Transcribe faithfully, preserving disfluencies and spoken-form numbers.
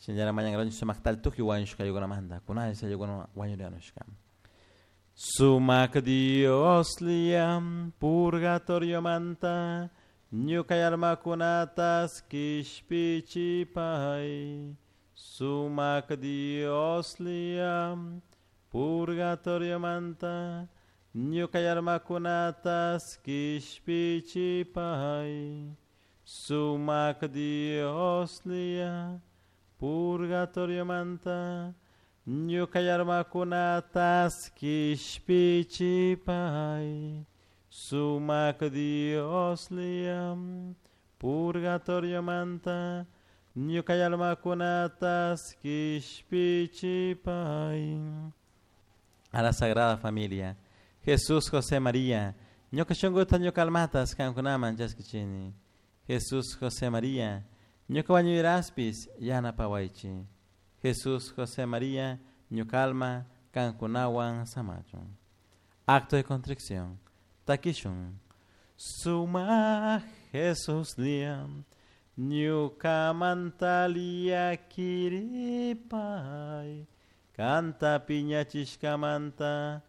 Shinallara mañankaranchik sumakta tukuy wañushka ayllunamanta kunanlla ayllukuna wañurianushka. Sumak Dioslla purgatoriomanta ñuka almakunatas kishpichipay. Sumak Dioslla purgatoriomanta ñuka almakunatas kishpichipay. Sumak Dioslla purgatoriomanta ñuka almakunatas kishpichipay. Sumak Dioslla purgatoriomanta ñuka almakunatas kishpichipay. A la Sagrada Familia, Jesús, José, María, ñuka shunkuta ñuka almatas kankunaman chaskichini. Jesús, José, María, ñuka wañuyraspis yanapawaychik. Jesús, José, María, ñuka alma kankunawan samachun. Acto de contrición. Takishun. Sumak Jesuslla ñukamanta llakiripay. Kanta piñachishkamanta